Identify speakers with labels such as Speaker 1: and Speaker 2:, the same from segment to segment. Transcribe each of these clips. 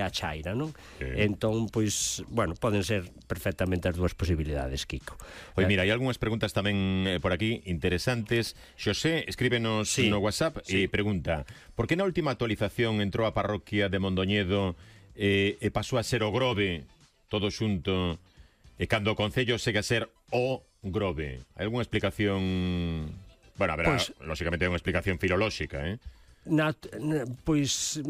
Speaker 1: a chaira, non? Entón, pois, bueno, poden ser perfectamente as dúas posibilidades, Kiko.
Speaker 2: Pois mira, hai algunhas preguntas tamén por aquí interesantes. Xosé, escríbenos no WhatsApp e pregunta: por que na última actualización entrou a parroquia de Mondoñedo e pasou a ser o Grove todo xunto, e cando o concello segue a ser o Grove? Hai algunha explicación? Bueno, haberá, lógicamente, unha explicación filolóxica,
Speaker 1: Pois,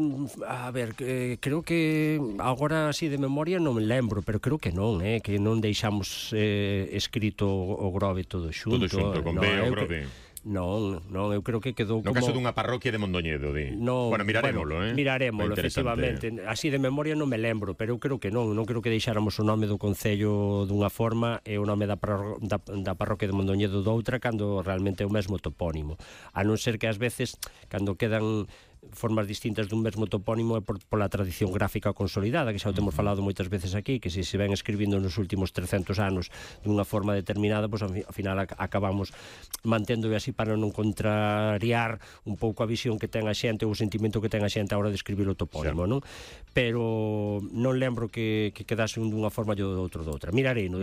Speaker 1: a ver, creo que agora así de memoria non me lembro, pero creo que non, que non deixamos escrito o Grove todo xunto.
Speaker 2: Todo xunto, con B o Grove.
Speaker 1: Non, eu creo que quedou
Speaker 2: como... No caso dunha parroquia de Mondoñedo, di. Bueno, mirarémolo,
Speaker 1: Mirarémolo, efectivamente. Así de memoria non me lembro, pero eu creo que non creo que deixáramos o nome do concello dunha forma e o nome da parroquia de Mondoñedo doutra, cando realmente é o mesmo topónimo. A non ser que ás veces, cando quedan formas distintas dun mesmo topónimo, é pola tradición gráfica consolidada, que xa o temos falado moitas veces aquí, que se ven escribindo nos últimos 300 anos dunha forma determinada, pois ao final acabamos manténdoo así para non contrariar un pouco a visión que ten a xente ou o sentimento que ten a xente a hora de escribir o topónimo, non? Pero non lembro que quedase un dunha forma e o outro doutra. Miraremos,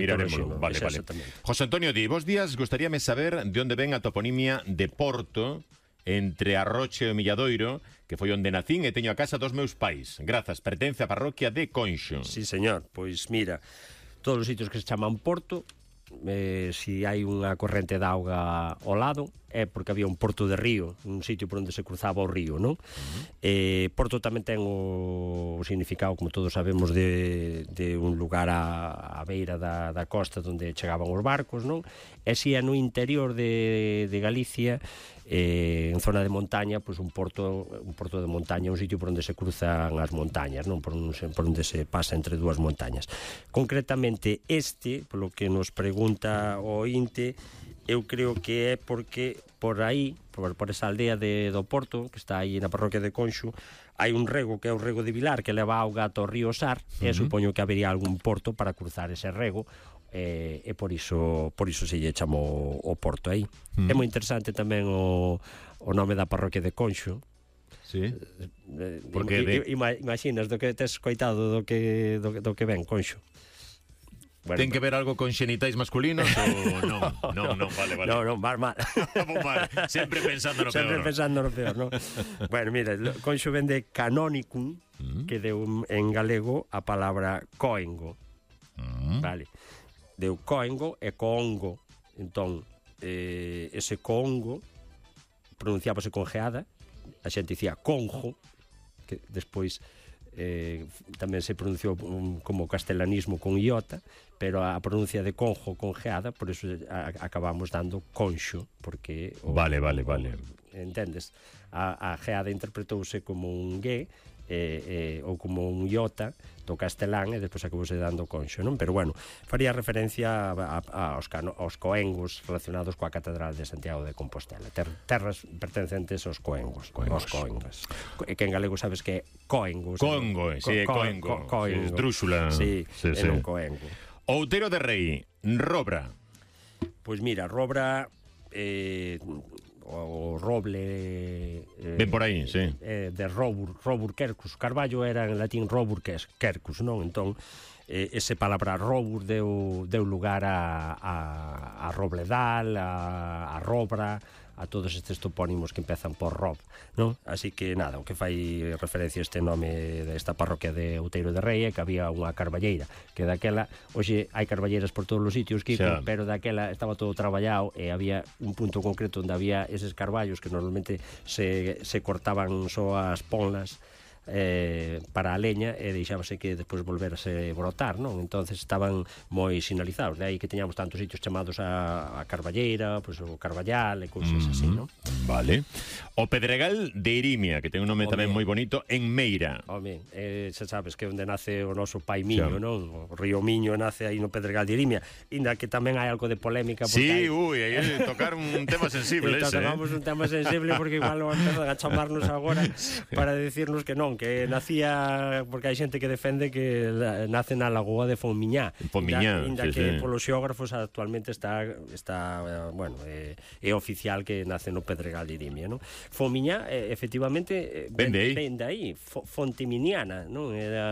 Speaker 2: vale. José Antonio di: bos días, gostaríame saber de onde ven a toponimia de Porto entre Arroche e o Milladoiro, que foi onde nacín e teño a casa dos meus pais. Grazas, pertence á parroquia de Conxo.
Speaker 1: Sí, señor. Pois mira, todos os sitios que se chaman Porto, si hai unha corrente de auga ao lado, é porque había un porto de río, un sitio por onde se cruzaba o río, non? Porto tamén ten o significado, como todos sabemos, de un lugar á beira da costa onde chegaban os barcos, non? E si é no interior de Galicia, en zona de montaña, pois un porto de montaña, un sitio por onde se cruzan as montañas, non? Por onde se pasa entre dúas montañas. Concretamente polo que nos pregunta o ointe, eu creo que é porque por aí, por esa aldea do Porto, que está aí na parroquia de Conxo, hai un rego que é o rego de Vilar, que leva auga ata o río Sar, e supoño que habería algún porto para cruzar ese rego, e por iso se lle chamou o porto aí. É moi interesante tamén o nome da parroquia de Conxo.
Speaker 2: Sí. Porque
Speaker 1: imaginas do que tes escoitado do que ven Conxo.
Speaker 2: Bueno, ten que ver algo con xenitais masculinos ou non? Non, vale.
Speaker 1: Non, mal.
Speaker 2: Sempre pensando no peor.
Speaker 1: Sempre pensando no peor, non? Bueno, mira, Conxo ven de canonicum, que deu en galego a palabra coengo. Vale. Deu coengo e coongo. Entón, ese coongo pronunciábase con geada, a xente dicía conjo, que despois tamén se pronunciou como castelanismo con iota, pero a pronuncia de conjo con geada, por eso acabamos dando conxo, porque
Speaker 2: vale.
Speaker 1: Entendes? A geada interpretouse como un gue ou como un iota do castelán, e despois acabouse dando conxo, non? Pero bueno, faría referencia aos coengos relacionados coa Catedral de Santiago de Compostela, terras pertencentes aos coengos. Que en galego sabes que é coengos.
Speaker 2: Coengo, esdrúxula.
Speaker 1: Sí, non coengo.
Speaker 2: Outeiro de Rei, Robra.
Speaker 1: Pois mira, Robra, o roble,
Speaker 2: ven por aí, sí,
Speaker 1: de robur quercus. Carballo era en latín robur quercus, non? Entón, ese palabra robur deu lugar a robledal, a robra, a todos estes topónimos que empezan por rob, non? Así que nada, o que fai referencia a este nome desta parroquia de Outeiro de Rei é que había unha carballeira, que daquela, hoxe hai carballeiras por todos os sitios, Kiko, pero daquela estaba todo traballado e había un punto concreto onde había eses carballos que normalmente se cortaban só as ponlas para a leña e deixábase que despois volverase brotar, non? Entonces estaban moi sinalizados, de aí que teñamos tantos sitios chamados a Carballeira, pois o Carballal e cousas así, non?
Speaker 2: Vale. O Pedregal de Irimia, que ten un nome tamén moi bonito, en Meira.
Speaker 1: Home, xa sabes que onde nace o noso pai Miño, non? O río Miño nace aí no Pedregal de Irimia, inda que tamén hai algo de polémica.
Speaker 2: Sí, aí tocar un tema sensible ese.
Speaker 1: Tocamos un tema sensible porque igual o empezan a chamarnos agora para decirnos que non, non, que nacía porque hai xente que defende que nace na lagoa de Fonmiñá. Inda que polos xeógrafos actualmente está bueno, é oficial que nace no Pedregal de Irimia, non? Fonmiñá, efectivamente, vende aí, Fonteminiana, non? Era